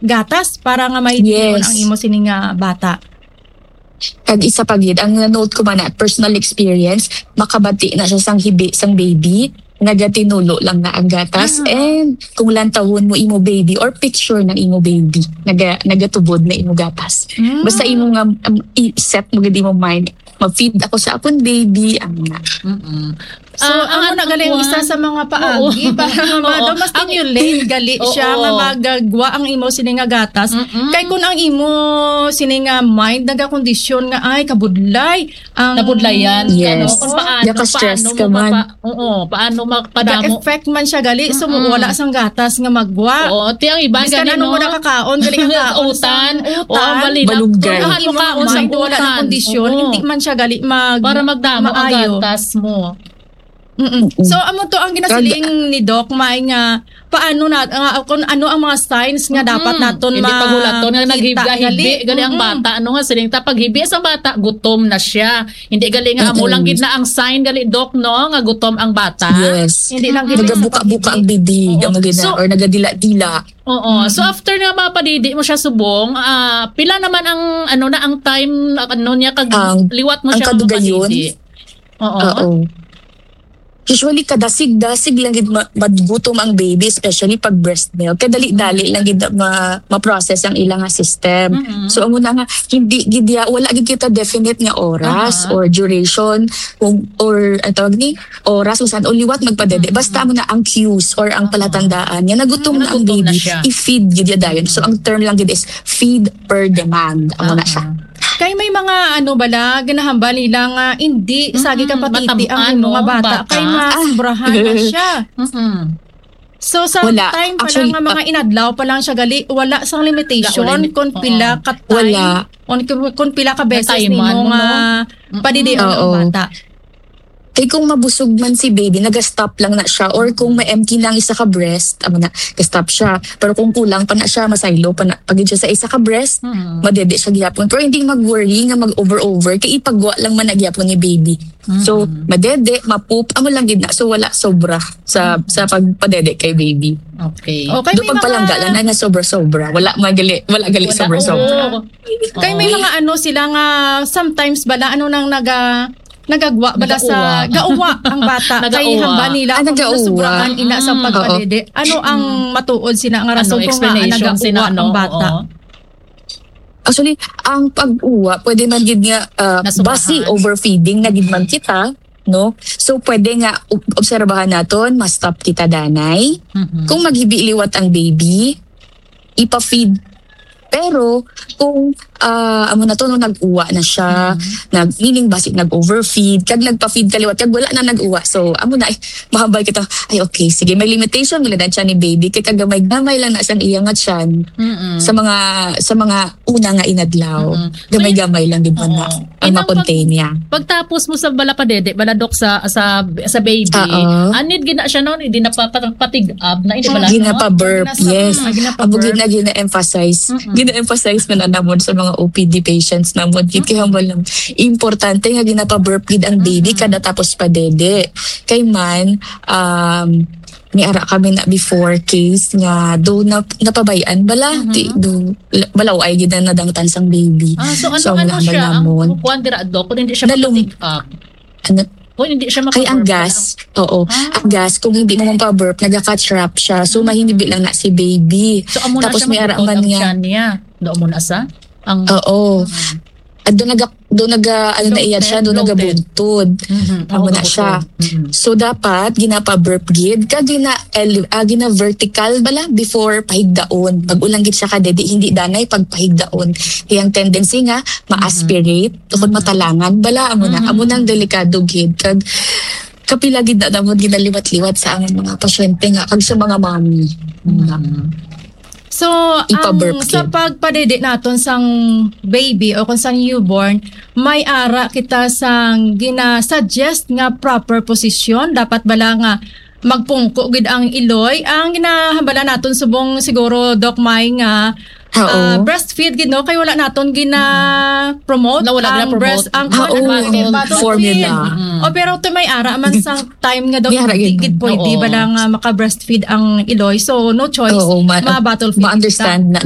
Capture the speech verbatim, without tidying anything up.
gatas para nga may Yes. ang imo sini nga bata. Kag isa pa gid, ang na-note ko man na personal experience, makabati na siya sang hibi sang baby, nagatinulo lang na ang gatas. Ah. And kung lantawon mo imo baby or picture ng imo baby, naga, nagatubod na imo gatas. Mm. Basta imo nga, um, i-set mo gid imo mind, mag-feed ako sa akon baby, ang na. Mm-mm. So, Ah, ang amo na ang galing kuwan. isa sa mga paagi Oo. para nga Oo. ma-, ma-stimulate gali siya Oo. nga magagwa ang imo sini nga gatas. Mm-mm. Kay kung ang imo sini nga mind nagakondisyon nga, "Ay, kabudlay ang Nabudlayan, Yes. ano, kung paano, Naka-stress paano ka mo man. mapa-, oo, paano magpadamo. Nag-effect man siya gali, so Mm-mm. wala sang gatas nga magwa. Oo, ti ang iba Biskan gali, ano no? mo nakakaon, gali ka kaon sa Utan. Oo, utan. Balilak. Balunggay. Kung ano Imo kaon sa mind, wala nang utan. kondisyon, Oo. hindi man siya gali mag-, Para magdamo ang maayo. gatas mo. Mm-mm. Mm-mm. So, amo to ang ginasiling Kag- ni Doc May nga paano na, nga, kung ano ang mga signs nga dapat Mm-mm. naton Hindi ma-, paghulaton nga kita naghibi-hibi gali. gali ang Mm-mm. bata, ano nga siling ta, paghibi sa bata, gutom na siya. Hindi gali nga amo Mm-mm. lang gid na ang sign gali, Doc, no, nga gutom ang bata. Yes. Hindi lang gid sa Nagabuka-buka ang paghibi. bibig, Oo. ang mga So, or nagadila-dila. Oo. So, Mm-mm. after nga mapadidi mo siya subong, ah, pila naman ang, ano na, ang time, ano niya, kag Ang, liwat mo ang siya kadugayon? mapadidi? Oo. Oo. Usually, kadasig-dasig lang gid ma-, magutom ang baby, especially pag breast milk. Kadali-dali lang gid na ma-, ma-process ang ilang nga system. Mm-mm. So, amo na nga, hindi gid ya-, wala gid kita definite nga oras Aha. or duration, kung, or, ang tawag ni, oras, kung saan, o liwat magpadede. Mm-mm. Basta amo na ang cues or ang Aha. palatandaan nga nagutom na ang Nagutom na baby, siya. i-feed gid ya dayon. So, ang term lang gid is feed per demand. Amo na siya. Aha. Kay may mga, ano bala, ginahambal nila nga hindi Mm-mm. sagi ka patiti ang Matam-, imo nga ano, bata, bata. kay masobrahan na Ah. siya. Mm-mm. So, sa Wala. time pa lang Actually, nga mga ah, inadlaw pa lang siya gali, wala sang limitation Wala limit-, kung oo. pila ka time, Wala. kung, kung pila ka beses Natayman nimo mo, nga no? Mm-mm. padidion ang Oo. bata. Kay kung mabusog man si baby, naga-stop lang na siya. Or kung ma-empty na ang isa ka breast, amo na, ga-stop siya. Pero kung kulang pa na siya, masaylo pa na, pag siya sa isa ka breast, Mm. madede siya gihapon. Pero hindi mag-worry nga mag-over-over, kay ipagwa lang man na gihapon ni baby. So, Mm. madede, ma-poop, amo lang gid na. So, wala sobra sa, Mm. sa pagpadede kay baby. Okay. Okay, Doon may pagpalangga mga lang na, na sobra-sobra. Wala man gali, wala gali Wala, sobra-sobra. oo. Kay may Oo. mga ano sila nga sometimes bala, ano nang naga-, nagagwa bala sa Nagauwa. gauwa ang bata. Kay Nagauwa. hamba nila Ah, kung nagauwa. nasobrahan ina sa Mm. pagpadede. Ano ang Mm. matuod sina nga Ano, rason kung nga explanation nagauwa sina, ano, ang bata? oo. Actually, ang pag-uwa, pwede man gid nga, ah, Nasobrahan. basi overfeeding na gid man kita, no? So, pwede nga ob-, obserbahan naton, ma-stop kita danay. Mhm. Kung maghibi liwat ang baby, ipa-feed. Pero kung, ah, amo na to, no, nag-uwa na siya, Mhm. nag-, meaning basi nag-overfeed, kag nagpa-feed ka liwat, kag wala na nag-uwa. So, amo na, eh, mahambal kita, "Ay, okay, sige, may limitation, wala na siya ni baby, kay kagamay-gamay lang na siyang iya nga tiyan." Mm-mm. Sa mga, sa mga una nga inadlaw, Mm-mm. gamay-gamay lang gid man na Oo. ang Inang ma-contain pag-, niya. pagtapos mo sa bala padede, bala, Dok, sa, sa, sa baby, Oo. anid gid na siya, no? Hindi na pa-, pa-, patig-ab na, hindi bala, no? Ginapa-burp, Nasa, yes. ah, ginapa-burp. Amo gid na gina-emphasize. Mm-mm. Gina-emphasize man na namon sa mga O P D patients namon. Gid kay Mm-mm. hambal lang. Importante nga ginapa-burp gid ang baby Mm-mm. kada tapos padede. Kay man, um, may ara kami na before case nga do na, napabayan bala, Mhm. di, do, la-, balaw ay gid na nadangtan sang baby. Ah, so ano, So, ang ano nahambal siya? Ang namon. kuwan dira, Dok, kung hindi siya Nalum- mapatig-ab? Ano? Kung hindi siya Kay ang mapaburp, gas, oo. Ah. Ang gas, kung hindi mo mapaburp, nagaka-trap siya. So, Mm. mahinibi lang na si baby. So, amo na Tapos siya may ara magbutod man ang nga. tiyan niya. Doon mo na sa? Ang Oo. Mm. At doon naga-, doon naga-, ano na iya siya, Bloated, doon bloated. nagabuntod. Mhm. Amo Oo, na siya. kabuntod. Mhm. So, dapat ginapa-burp gid, kag gina-, ele-, ah, gina-vertical bala before pahigdaon. Pag ulang gid siya kadede, hindi danay pagpahigdaon. Kaya ang tendency nga, ma-aspirate, Mhm. tukod Mhm. matalangan bala, amo na. Mhm. Amo nang delikado gid. Kag kapila gid na namon ginaliwat-liwat sa among mga pasyente nga, kag sa mga mommy. Mhm. So, Ipa-burp ang, sa gid. pagpadede naton sang baby o kung sang newborn, may ara kita sang gina-suggest nga proper position. Dapat bala nga magpungko gid ang iloy? Ang ginahambala naton subong siguro, Doc May, nga, Oo. ah, breastfeed gid, no? Kay wala naton gina-promote Na wala ang gina-promote. breast, ang Oo. bottle feed. Formula. Mm. O, pero to may ara man sa time nga daw May ara hindi gid, gid no? pwede Oo. bala nga maka-breastfeed ang iloy. So, no choice, Oo, ma-, ma-bottle feed ma-understand kita. na